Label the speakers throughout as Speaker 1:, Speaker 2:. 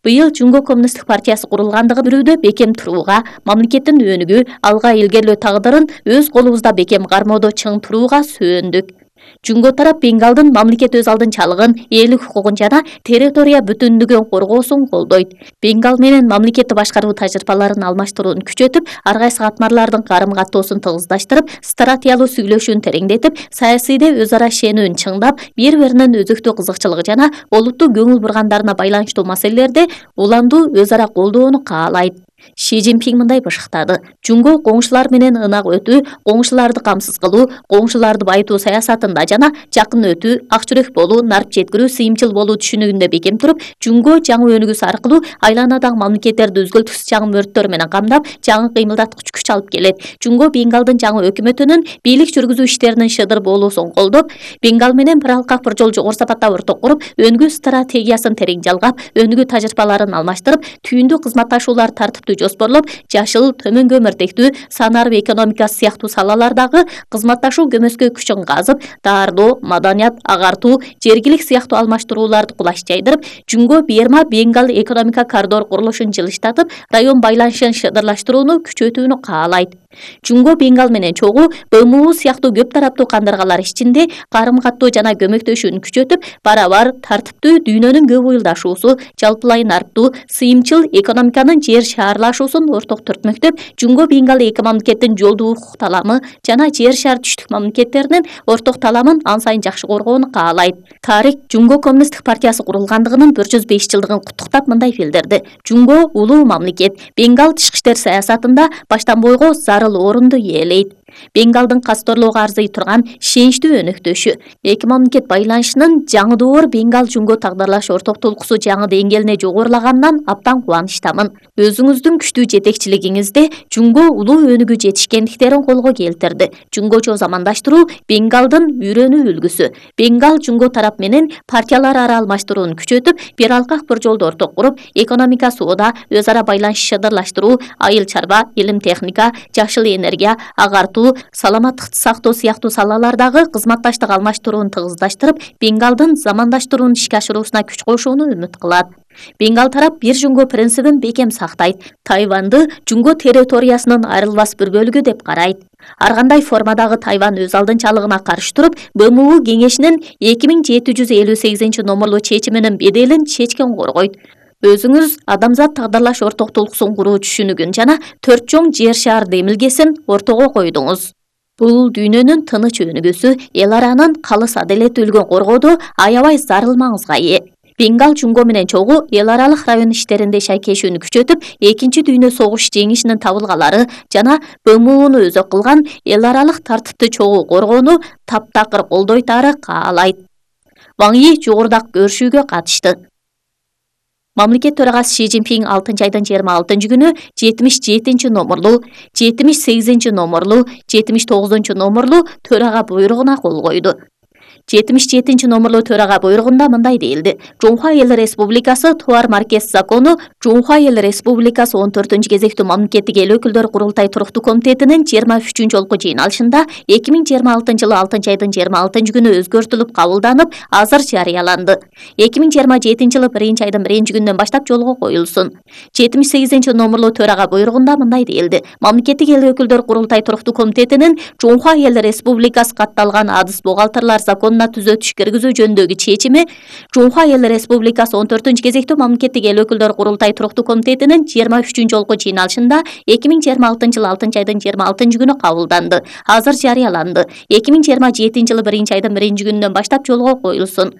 Speaker 1: Быйыл Жунго Коммунисттик партиясы курулгандыгы бирүүдө бекем турууга, мамлекеттин өнүгүү, алга илгерлөө тагдырын өз колубузда бекем кармоодо чың турууга сөөндөк. Жунго тарап Бенгалдын мамлекет өз алдын чалыгын, элдик хукугун жана территория бүтүндүгүн коргоосун колдойт. Бенгал менен мамлекетти башкаруу тажрыйбаларын алмаштырууну күчөтүп, ар кайсы катмарлардын карым-каттоосун тыгыздаштырып, стратегиялуу сүйлөшүүнү тереңдетип, саясийде өз ара ишенүүнү чыңдап, бири-биринин өзүктүү кызыкчылыгы жана олуттуу көңүл бургандарына байланыштуу маселелерде уламдуу өз ара колдоону каалайт. Ши Цзиньпин мындай башыктады. Жунго коңшулар менен ынак өтүү, коңшуларды камсыз кылуу, коңшуларды байытуу саясатында жана жакын өтүү, ак жүрөк болуу, нарп жеткирүү, сыйымчыл болуу түшүнүгүндө бекем туруп, Жунго жаңы өнүгүүсү аркылуу айланадагы мамлекеттерди өзгөлтүксүз жаңы мөрттөр менен камдап, жаңы кыймылдаткыч күч алып келет. Жунго Бенгалдын жаңы өкмөтүнүн бийлик жүргүзүү иштеринин шыдыр болуусун колдоп, Бенгал менен бир алкак бир жол жогору сапатта орток куруп, өнүгүү стратегиясын терең жалгап, өнүгүү тажрыйбаларын алмаштырып, түйүндүү кызматташуулар тартиптүү жоспорлоп, жашыл, төмөн көмүртектүү, санарып экономикасы сыяктуу салалардагы кызматташуу көмөскө күчүн казып, дардоо, маданият, агартуу, жергилик сыяктуу алмаштырууларды кулаш жайдырып, Жунго Берма Бенгал экономика коридор курулушун жылыштатып, район байланышын шыдырлаштырууну күчөтүүнү каалайт. Жунго Бенгал менен чогуу БМУ сыяктуу көп тараптуу кандыргалар ичинде карым-каттоо жана көмөктөшүүнү күчөтүп, барабар, тартиптүү дүйнөнүн көп уюлдашуусу, жалпылай нарптуу, сыйымчыл экономиканын жер шаарлашуусун орток түртмөктөп, Жунго Бенгал эки мамлекеттин жолдуу укук таламы жана жер шаар түштүк мамлекеттеринин орток таламын ан сайын жакшы коргоону каалайт. Тарик Жунго Коммунисттик партиясы курулгандыгынын 105 жылдыгын куттуктап мындай билдирди. Жунго улуу мамлекет, Бенгал тышкы иштер саясатында баштан бойго зарыл орунду ээлейт. Бенгалдын касторлоого арзый турган ишеничтүү өнөктөшү, эки мамлекет байланышынын жаңы доор Бенгал Жунго тагдырлаш ортоктулукусу жаңы деңгээлине жогорулаганынан абдан кубанычтамын. Өзүңүздүн күчтүү жетекчилигиңизде Жунго улуу өнүгүү жетишкендиктерин колго келтирди. Жунгочо замандаштыруу Бенгалдын үйрөнүү үлгүсү. Бенгал Жунго тарап менен партиялар ара алмаштырууну күчөтүп, бир алкак бир жолду орток куруп, экономика соода, өз ара байланыш шыдырлаштыруу, айыл чарба, илим техника, жашыл энергия, агартуу, саламаттыкты сактоо сыяктуу салалардагы кызматташтык алмаштырууну тыгыздаштырып, Бенгалдын замандаштырууну ишке ашыруусуна күч кошууну үмүт кылат. Бенгал тарап бир Жунго принцибин бекем сактайт. Тайванды Жунго территориясынын айрылбас бир бөлүгү деп карайт. Ар кандай формадагы Тайван өз алдын чалыгына каршы туруп, БМУ кеңешинин 2758 номерлуу чечиминин беделин чечкен коргойт. Өзүңүз адамзат тагдырлаш ортоктулукусун куруу түшүнүгүн жана 4 чоң жер шаар демилгесин ортого койдуңуз. Бул дүйнөнүн тыныч өнүгүүсү, эл аранын калыс адилеттүүлүгүн коргоодо аябай зарыл маңызга ээ. Бенгал Жунго менен чогуу эл аралык район иштеринде шайкешүүнү күчөтүп, Экинчи дүйнө согуш жеңишинин табылгалары жана БМУну өзөк кылган эл аралык тартипти чогуу коргоону таптакыр колдойт ары каалайт. Ван Yi жогорудагы көрүшүүгө катышты. Мамлекет төрагасы Ши Цзиньпин 6 айдын 26 күнү 77 номерлуу, 78 номерлуу, 79 номерлуу төрага буйругуна кол койду. 77 номерлуу төрага буйругунда мындай дейилди. Жунхва эл республикасы товар маркес закону Жунхва эл республикасы 14 кезектүү мамлекеттик эл өкүлдөр курултай туруктуу комитетинин 23 жолку жыйналышында 2026 жылы 6 айдын 26 күнү өзгөртүлүп кабылданып, азыр жарыяланды. 2027 жылы 1 айдын 1 күнүнөн баштап жолго коюлсун. 78 номерлуу төрага буйругунда мындай дейилди. Мамлекеттик эл өкүлдөр курултай туруктуу комитетинин Жунхва эл республикасы катталган адыс бухгалтерлар закону түзөтүш киргизүү жөнүндөгү чечими Жунхва эл республикасы 14 кезектүү мамлекеттик эл өкүлдөр курултай туруктуу комитетинин 23 жолку жыйналышында 2026 жылы 6 айдын 26 күнү кабылданды. Азыр жарыяланды. 2027 жылы 1 айдын 1 күнүнөн баштап жолго коюлсун.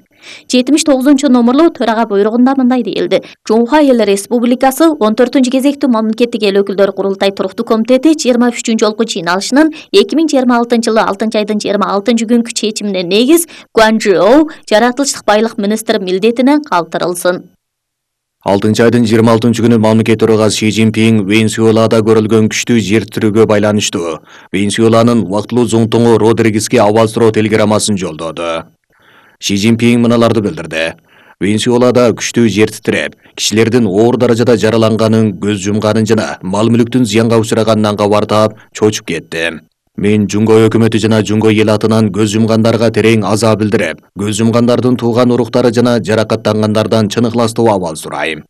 Speaker 1: 79 номерлуу төрага буйругунда мындай дейилди. Жунхва эл республикасы 14 кезектүү мамлекеттик эл өкүлдөр курултай туруктуу комитети 23 жолку жыйналышынын 2026 жылы 6 айдын 26 күнкү чечимине негиз Гуан Чжоу жаратылыштык байлык министри милдетинен калтырылсын.
Speaker 2: 6 айдын 26 күнү мамлекет төрагасы Ши Цзиньпин Венесуэлада көрүлгөн күчтүү жер тирөөгө байланыштуу Венесуэланын убактылуу зоңтоңу Родригеске абал суроо телеграммасын жолдоду. Ши Цзиньпин мыналарды билдирди. Венесуэлада күчтүү жер титиреп, кишилердин оор даражада жараланганын, көз жумганын жана мал-мүлктүн зыянга учраганынан кабар таап чочуп кетти. Мен Жунго өкмөтү жана Жунго эл атынан көз жумгандарга терең аза билдирип, көз жумгандардын тууган уруктары жана жаракаттангандардан чын ыхластуу абал сурайм.